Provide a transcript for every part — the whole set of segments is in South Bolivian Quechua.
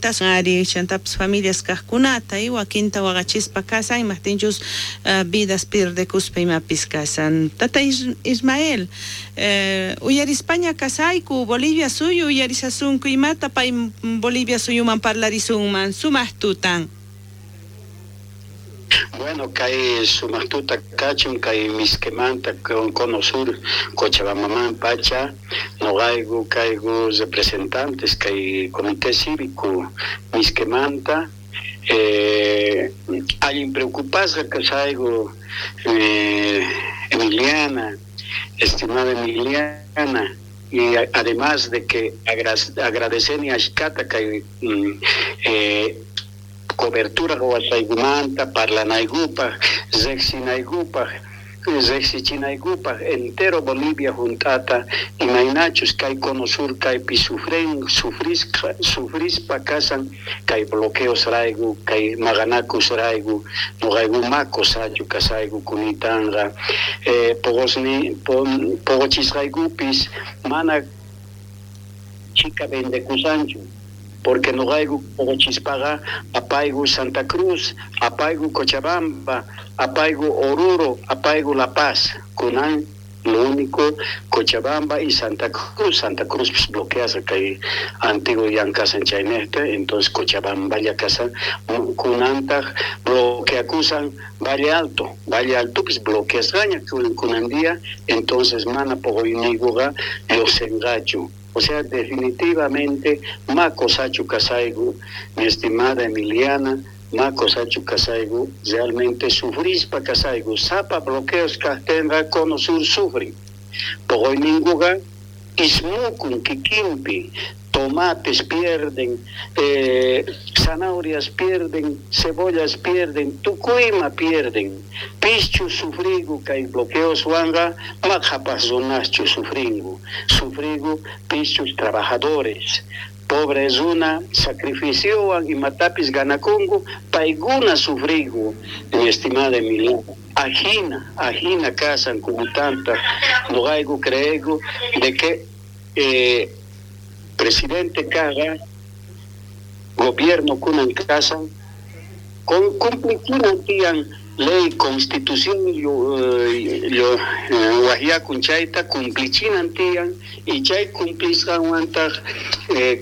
Ari chantapis familias kajkunata y wakinta waqachispa kasan, imajtinchus vidas pierdekuspa imapis kasan. Tata Ismael, uyarispaña kasayku, Bolivia suyu uyarisasunku, imata pay Bolivia suyuman parlarisunman, sumaq tutan. Bueno, kay sumaq tuta kachun kay Misquemanta Cono Sur Cochabambaman pacha, noqayku kayku representantes kay Comité Cívico Misquemanta, allin preocupasqa kasayku, Emiliana, estimada Emiliana, y además de que agradeceni ashkata kay cobertura qowasqaykumanta parlanaykupaj, riqsinaykupaj, riqsichinaykupaj entero Bolivia junt'ata imaynachus kay Cono Sur kaypi sufren, sufrisqa, sufrispa kasan kay bloqueos rayku, kay maqanakus rayku, noqayku ma kosachu kasayku kunitanqa, poqosni, poqochisqaykupis mana chika vendekusanchu, porque noqayku poqochispaqa apayku Santa Cruz, apayku Cochabamba, apayku Oruro, apayku La Paz, kunan lo único Cochabamba y Santa Cruz, Santa Cruz pues bloqueasqa kay antiguo yankasan chaynejta, entonces Cochabamba llakasan, kunantaq bloqueakusan Valle Alto, Valle Alto pues bloqueasqaña kunan día, entonces mana poqoyniykuqa lluqsinqachu. O sea, definitivamente, ma kosachu kasayku, mi estimada Emiliana, ma kosachu kasayku, realmente sufrispa kasayku, sapa bloqueos kajtinqa Cono Sur sufrin. Poqoyninkuqa ismukun kikinpi, tomates pierden, zanahorias pierden, cebollas pierden, tukuyma pierden. Pischu sufrigu kay bloqueoswanqa, ma qhapaq runaschu sufringu. Sufrigu pischus trabajadores. Pobre runa sacrificiowan imatapis ganakunku, paykuna sufrigu, mi estimada Emiliana. Ajina, ajina kasan kunutanta, noqayku creegu de que presidente kaqa, gobierno kunan kasan, con cumplichinan tiyan ley, constitución, yo wajyakun chayta cumplichinan tiyan, y chay cumplisqanwantaq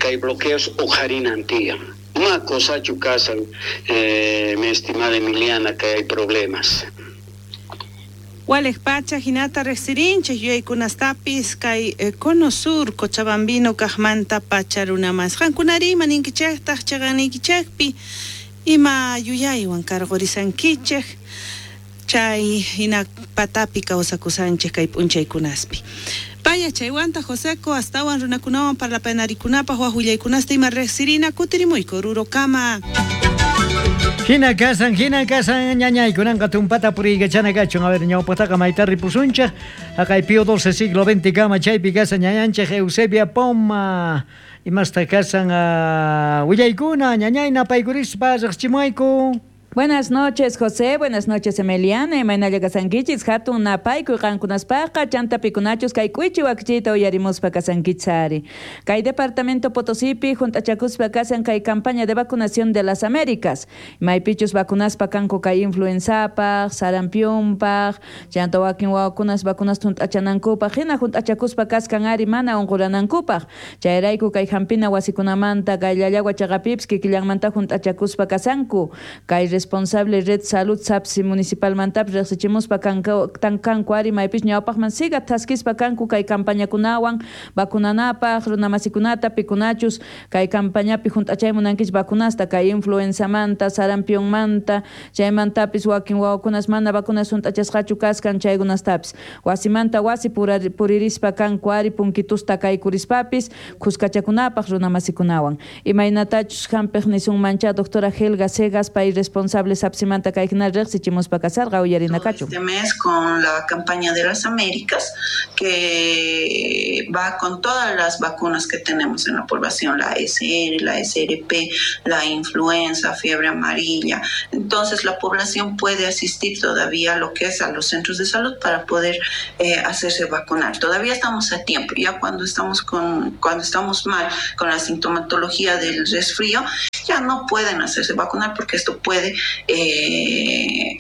kay bloqueos uqharinan tiyan. Ma kosachu kasan, mi estimada Emiliana, que hay problemas. Walej pacha hinata riqsirinchik yuyaykunastapis kay Cono Sur Cochabambino kaqmanta pacha runamas. Qankunari ima ninkichiktaq chaqaniykichikpi ima yuyaywan karqurisankichik chay hina patapi kawsakusanchik kay p'unchaykunaspi. Paya chaywanta Joseco astawan runakunawan parlapanarikunapaq waj willaykunasta ima riqsirina kutirimuyku Orurokama. Hina kasan, hina kasan, ñañaykunanqa tumpata puriykachana kachun. A ver, ñawpaqtaqa mayta ripusunchik. Haqay Pío XII siglo XX kama chaypi kasan ñañanchik Eusebia Poma. Imasta kasan willaykuna, ñañayna paykurispa riqsichimuayku. Buenas noches, José. Buenas noches, Emiliana. Imaynalla kasankichis hatun napaykuy qankunaspaqa chanta pikunachus kay k'uichi wakichiyta uyarimuspa kasankichari. Kay departamento Potosipi junt'achakuspa kasan kay campaña de vacunación de las Américas. Maypichus vacunaspa kanku kay influenzapaq, sarampiunpaq, chanta wakin wawakunas vacunas junt'achanankupaq, hina junt'achakuspa kaskan ari mana unquranankupaq. Chayrayku kay hampina wasikunamanta kay Llallagua chaqapipis kikillanmanta junt'achakuspa kasanku. Kay responsable Red Salud Sapsi Municipal mantapis riqsichimuspa kanku ari maypis ñawpaqman siga thaskispa kanku kay campañakunawan vacunanapaq runamasikunata pikunachus kay campañapi junt'achay munankichik vacunasta kay influenzamanta, sarampiunmanta, chaymantapis wakin wawakunas mana vacunas junt'achasqachu kaskan chaykunastapis wasimanta wasi puririspa kanku ari punkitusta kaykurispapis khuskachakunapaq runamasikunawan. Imaynatachus hampiq nisunmancha doctora Helga Segas pay responsable Sable Sapsimanta kay hina riqsichimuspa kasarqa uyarinakachu. Este mes con la campaña de las Américas, que va con todas las vacunas que tenemos en la población, la SR, la SRP, la influenza, fiebre amarilla. Entonces la población puede asistir todavía a lo que es a los centros de salud para poder hacerse vacunar. Todavía estamos a tiempo. Ya cuando estamos mal con la sintomatología del resfrío, ya no pueden hacerse vacunar porque esto puede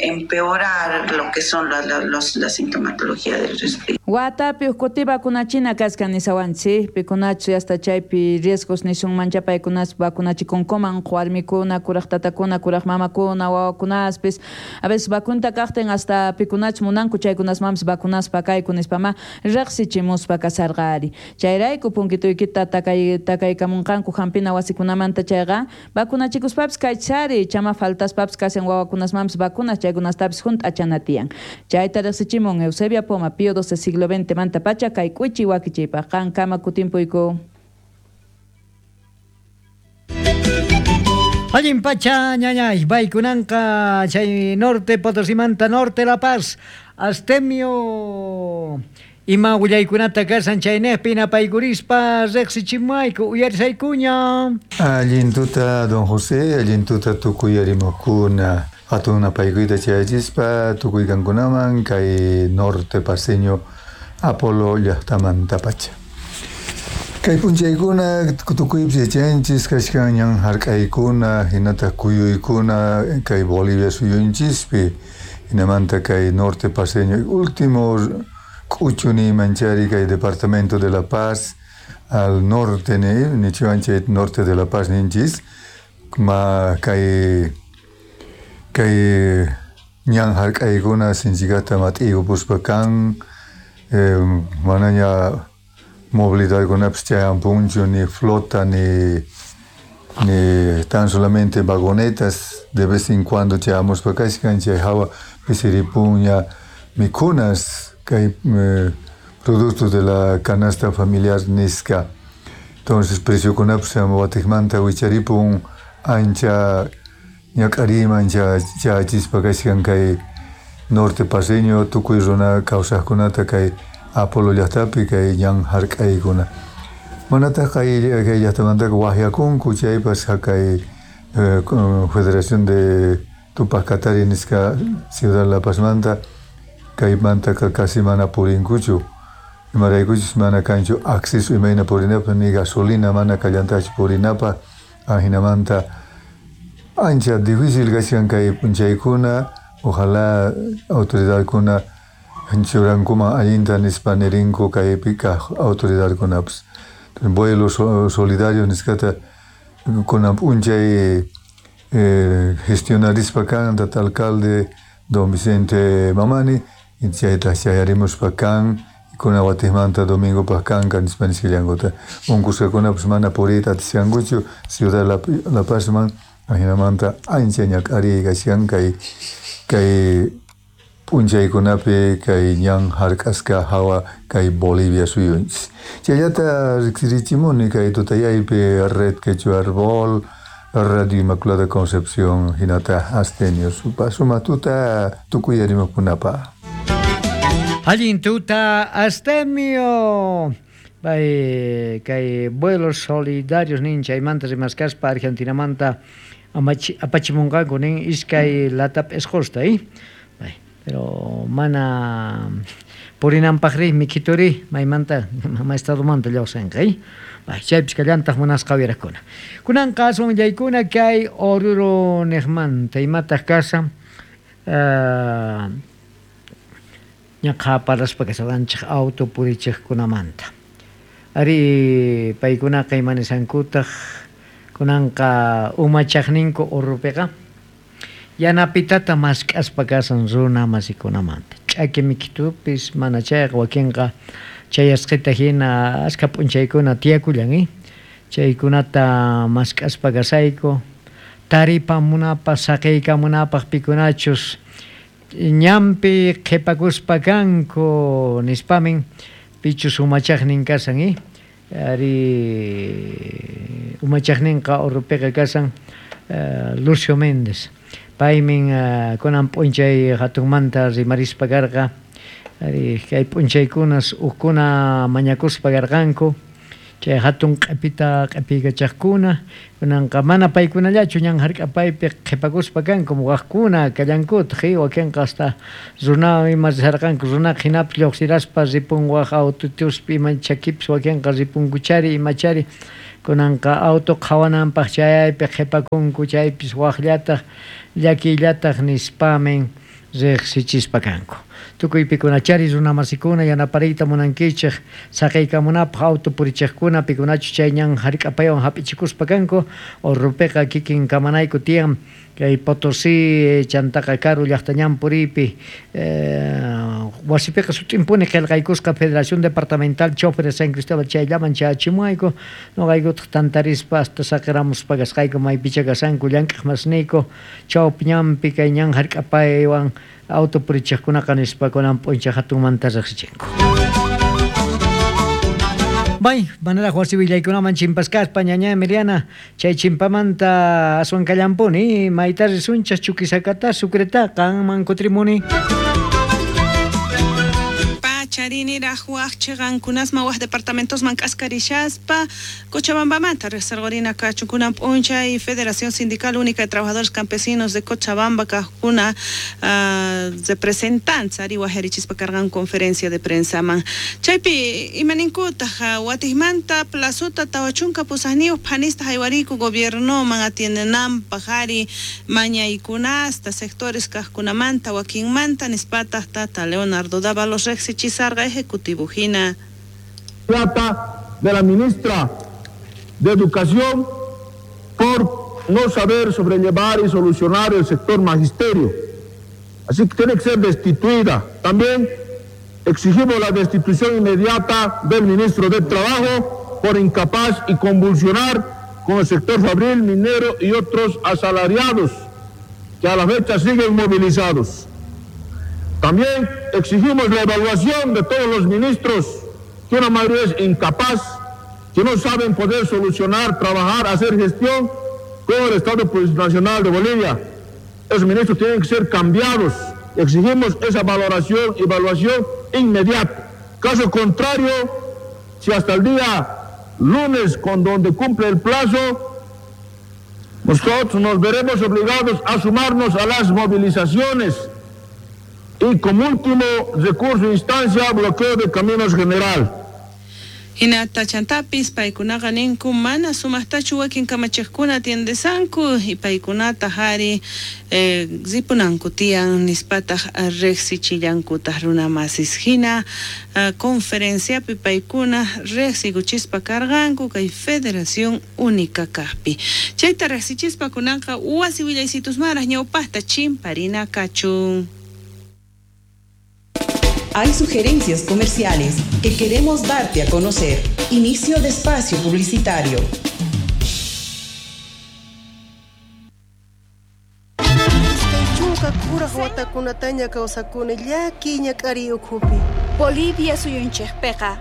empeorar lo que son la sintomatología del resfrío. Watapi uqkuti vacunachina kaskan nisawanchik, pikunachu hasta chaypi riesgos nisunman chapaykunas vacunachikunkuman warmikuna, kuraq tatakuna, kuraq mamakuna, wawakunaspis. A veces vacunta kaqtin hasta pikunach munanku chaykunasmanpis vacunaspa kayku nispama riqsichimuspa kasarqari. Chayrayku punkituykita takaykamunqanku hampina wasikunamanta chayqa vacunachikuspapis kaychari chama faltaspapis kasan wawakunasmanpis vacunas chaykunastapis hunt'achana tiyan. Chayta riqsichimun Eusebia Poma, Pío XII siglo XX manta pacha kay k'uchi wakichiypaq qankama kutimpuyku. Allin pacha ñañay, baykunanqa chay norte Potosimanta norte La Paz, Astemio ima willaykunata kasan chaynejpi napaykurispa riqsichimayku uyarisaykuña. Allin tuta don José, allin tuta tukuy arimukuna. Hatun napaykuyta chayachispa tukuy kankunaman kay norte paseño Apolo llaqtamanta pacha. Kay p'unchaykuna tukuypis yachanchis kashkan ñan hark'aykuna hinataq kuyuykuna kay Bolivia suyunchispi hinamanta kay norte paseño último k'uchu niymanchari kay departamento de La Paz al norte nichiwan chay norte de La Paz ninchis ma kay ñan hark'aykuna sinchikata mat'iyupuspa kan manaña movilidadkunapis chayampunchu ni flota ni tan solamente vagonetas de vez en cuando chayamuspa kashkan chay hawa pisiripuña mikunas kay productos de la canasta familiar nisqa. Entonces preciokunapis watikmanta wicharipun ancha ñak'ariyman chayachispa kashkan kay norte paseño tukuy runa kawsaqkunata kay Apolo llaqtapi kay ñan hark'aykuna. Manataq kay llaqtamantaqa waqyakunku chaypas kay Federación de Tupac Katari nisqa Ciudad La Pazmanta kaymantaqa casi mana purinkuchu. Imaraykuchus mana kanchu acceso imayna purinapaq ni gasolina mana kallantachu purinapaq ajinamanta ancha difícil kashkan kay p'unchaykuna. Ojalá autoridadkuna churankuman allinta nispa nirinku kaypi kaq autoridadkunapas. Vuelo solidario nisqata kunan p'unchay gestionarispa kan tata alcalde don Vicente Mamani chayta chayarimuspa kan kunan watikmanta domingopaq kanqa nispa nisqallankuta. Unqusqakunapas mana puriyta atisqankuchu Ciudad La Pazman ajinamanta ancha ñak'ariy kashkan kay p'unchaykunapi kay ñan hark'asqa hawa kay Bolivia suyunchis. Chayllata riqsirichimuni kay tutayaypi Red Quechua Arbol, Radio Inmaculada Concepción hinata Astenio supa suma tuta tukuy arimukunapaq. Allin tuta Astemio. Bay kay vuelos solidarios nin chaymanta rimaskaspa Argentinamanta apachimunqanku nin iskay latap esqosta Bay, pero mana purinanpaqri mikhituri maymanta mama estadomanta lluqsinqa Bay, chaypis kallantaq munasqa uyaraqkuna. Kunanqa aswan willaykuna kay Oruro niqmanta imataq kasan ñaqa parlaspa kashawanchik auto purichiqkunamanta. Ari paykunaqa imanisankutaq kunanqa umachaqninku Orurupiqa yanapitata mask'aspa kasan runa masikunamanta. Ch'aki mikhitupis mana chayqa wakinqa chayasqita hina ashka p'unchaykuna tiyakullan chaykunata mask'aspa kasayku taripamunapaq saqiykamunapaq pikunachus ñanpi qhipakuspa kanku nispamin pichus umachaqnin kasan ari umachaqninqa Orurupiqa kasan Lucio Méndez. Paymin kunan p'unchay hatunmanta rimarispa karqa. Ari kay p'unchaykunas ukkuna mañakuspa karqanku. Chay hatun q'ipita q'ipiykachaqkuna kunanqa mana paykunallachu ñan hark'apaypi qhipakuspa kanku waqkuna kallankutaq wakinqa hasta runa ima risarqanku runaqa hinapi lluqsiraspa ripun waq autotuspi ima chakipis wakinqa ripunkuchari imachari kunanqa auto qhawananpaq chayaypi qhipakunku chaypis waqllataq llakillataq nispamin riqsichispa kanku. Tukuy pikunachari runamasikuna yanapariyta munankichik saqiykamunapaq auto purichiqkuna pikunachu chay ñan hark'apaywan hap'ichikuspa kanku Orrupiqa kikin kamanayku tiyan kay Potosí chantaqa karu llaqta ñan puriypi wasipiqa sut'impuni qillqaykusqa Federación Departamental Choferes San Cristóbal chayllaman chayachimuayku noqaykutaq tantarispa hasta saqiramuspa kasqayku maypicha kasanku llank'aq masniyku chawpi ñanpi kay ñan hark'apaywan auto purichiqkunaqa nispa kunan p'unchay hatunmanta riqsichinku. Bay, manaraq wasi willaykunaman chimpaskaspa ñaña Emiliana chay chimpamanta aswan kallampuni mayta risunchas Chuquisacata Sucreta qanman kutrimuni. Chariniraj waj chiqankunasman waj departamentosman k'askarishaspa Cochabambamanta riqsirqurina kachunkunan p'unchay Federación Sindical Única de Trabajadores Campesinos de Cochabamba kajkuna representantes ari wajarichispa karqan conferencia de prensaman chaypi imaninkutaq watijmanta plazuta 48 phanista haywariku gobiernoman atiendenanpaq ari mañaykunasta sectores kajkunamanta wakinmanta nispataq tata Leonardo Dávalos riqsichis ejecutivo hina. Plata de la ministra de Educación por no saber sobrellevar y solucionar el sector magisterio. Así que tiene que ser destituida. También exigimos la destitución inmediata del ministro de Trabajo por incapaz y convulsionar con el sector fabril, minero y otros asalariados que a la fecha siguen movilizados. También exigimos la evaluación de todos los ministros, que una mayoría es incapaz, que no saben poder solucionar, trabajar, hacer gestión con el Estado Nacional de Bolivia. Esos ministros tienen que ser cambiados. Exigimos esa valoración, evaluación inmediata. Caso contrario, si hasta el día lunes, con donde cumple el plazo, nosotros nos veremos obligados a sumarnos a las movilizaciones y como último recurso e instancia, bloqueo de caminos general. Hinata chantapis paykunaqa ninku mana sumaqtachu wakin kamachiqkuna atiendesanku y paykunata hari ripunanku tiyan nispataq riqsichillankutaq runamasis hina conferenciapi paykuna riqsikuchispa karqanku kay Federación Única kaqpi. Chayta riqsichispa kunanqa wasi willaysitusmaraq ñawpaqta chimparina kachun. Hay sugerencias comerciales que queremos darte a conocer. Inicio de espacio publicitario. Bolivia suyunchikpiqa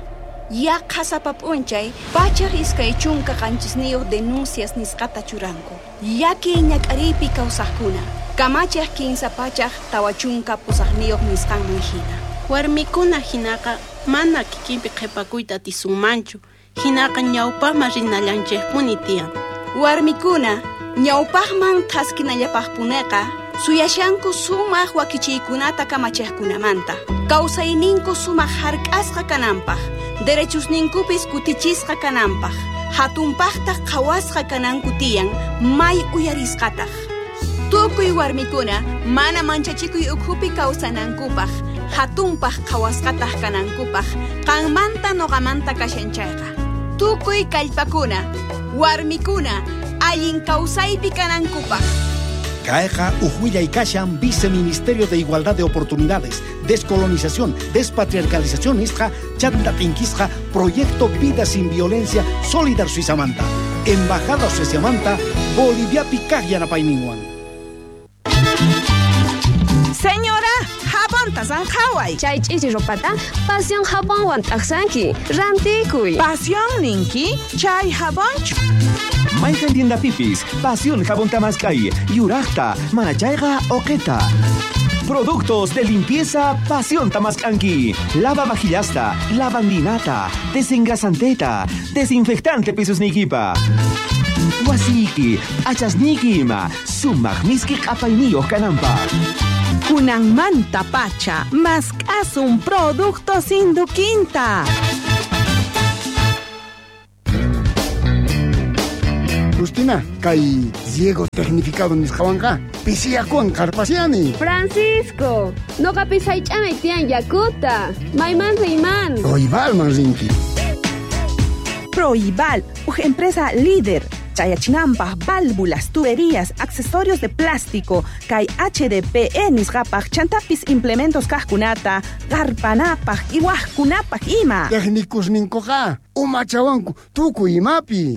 yaqha sapa p'unchay 127 denuncias nisqata churanku. Llaki ñak'ariypi kawsaqkuna kamachiq 348 nisqanman hina. Warmikuna hinaqa mana kikinpi qhipakuyta atisunmanchu, hinaqa ñawpaqman rinallanchikpuni tiyan. Warmikuna ñawpaqman thaskinallapaqpuneqa suyashanku sumaq wakichiykunata kamachiqkunamanta, kawsayninku sumaq hark'asqa kananpaq, derechusninkupis kutichisqa kananpaq, hatunpaqtaq qhawasqa kananku tiyan may uyarisqataq. Tukuy warmikuna mana manchachikuy ukhupi kawsanankupaq, hatunpaq qhawasqataq kanankupaq, qanmanta noqamanta kashan chayqa. Tukuy kallpakuna, warmikuna, allin kawsaypi kanankupaq. Caeja, Ujuilla y Kashan, Viceministerio de Igualdad de Oportunidades, Descolonización, Despatriarcalización, Isja, Chanta Tinquisja, Proyecto Vida Sin Violencia, Solidar Suizamanta, Embajada Suizamanta, Bolivia Picaj Yanapayninwan. Señora, jabonta sanjaway. Chay ch'ichi ropata Pasión jabonwan t'aqsanki. Rantikuy. Pasión ninki, chay jabonchu. Mayqan tiendapipis, Pasión jabón tamaskay, yuraqta, manachayqa oqeta. Productos de limpieza Pasión Tamaskanki. Lava vajillasta, lavandinata, desengrasanteta, desinfectante pisos nikipa. Wasiki, achasniki ima, sumaq miski q'apayniyuq kananpaq. Kunanmanta pacha, mask'asun productos Induquinta. Justina, kay riego tecnificado nisqawanqa pisiyakuwan qarpasiani. Francisco, noqapis haych'anay tiyan yakuta. Mayman riyman. Proibalman rinki. Proibal, uj empresa líder. Chayachinampaj, válvulas, tuberías, accesorios de plástico, kay HDPE nisqapaj, chantapis implementos kajkunata, qarpanapaj, iwajkunapaj ima. Técnicos ninkuqa umachawanku tukuy imapi.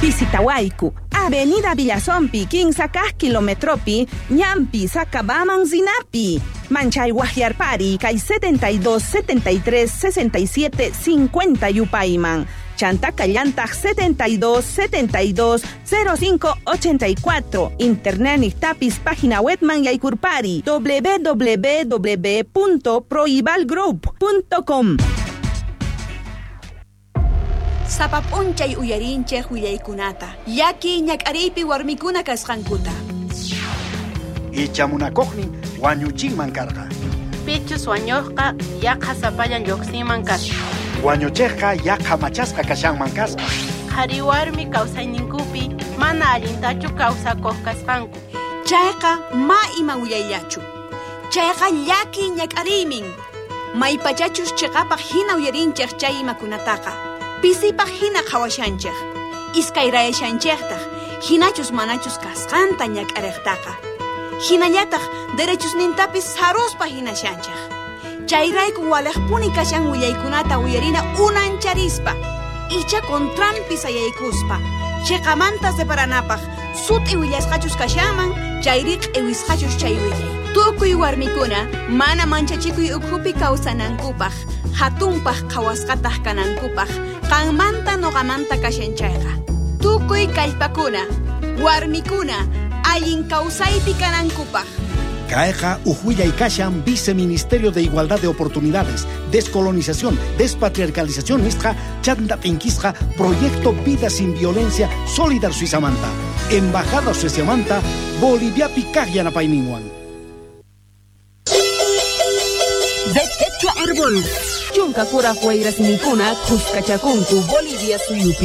Visitawayku, Avenida Villazompi, 15 kilometropi, Ñampi, Sacabaman, Zinapi. Manchay Guajiarpari, kay 72 73 67 50 Yupayman. Chanta Callantag 72 72 05 84. Internet tapis página webman yaykurpari www.proibalgroup.com. Sapa p'unchay uyarinchej willaykunata, llaki ñak'ariypi warmikuna kasqankuta. Icha munakuqnin wañuchinman karqa. Pichus wañuqqa yaqa sapallan lluqsinman kasqa. Wañuchiqqa yaqa machasqa kashanman kasqa. Qhari warmi kawsayninkupi mana allintachu kawsakuq kasqanku. Chayqa ma ima willayllachu. Chayqa llaki ñak'ariymin. Maypachachus chiqapaq hina uyarinchej chay imakunataqa. Pisipaq hina qhawashanchej. Iskayrayashanchejtaq, hinachus manachus kasqanta ñak'ariqtaqa. Hinallataq derechusnintapis saruspa hinashanchej. Chayrayku walejpuni kashan willaykunata uyarina unancharispa, icha contranpi sayaykuspa, chiqamanta separanapaq, sut'i willasqachus kashanman, chayri q'iwisqachus chay willay. Tukuy warmikuna mana manchachikuy ukhupi kawsanankupaq, hatunpaq qhawasqataq kanankupaq, qanmanta noqamanta kashan chayqa. Tukuy kallpakuna, warmikuna, allin kawsaypi kanankupaq. Kayqa uj willay kashan Viceministerio de Igualdad de Oportunidades, Descolonización, Despatriarcalización nisqa, chanta t'inkisqa, Proyecto Vida Sin Violencia, Solidar Suizamanta, Embajada Sueciamanta, Boliviapi kaq yanapayninwan. De Quechua Árbol. Chunka kuraj wayrasninkuna khuskachakunku Bolivia suyupi.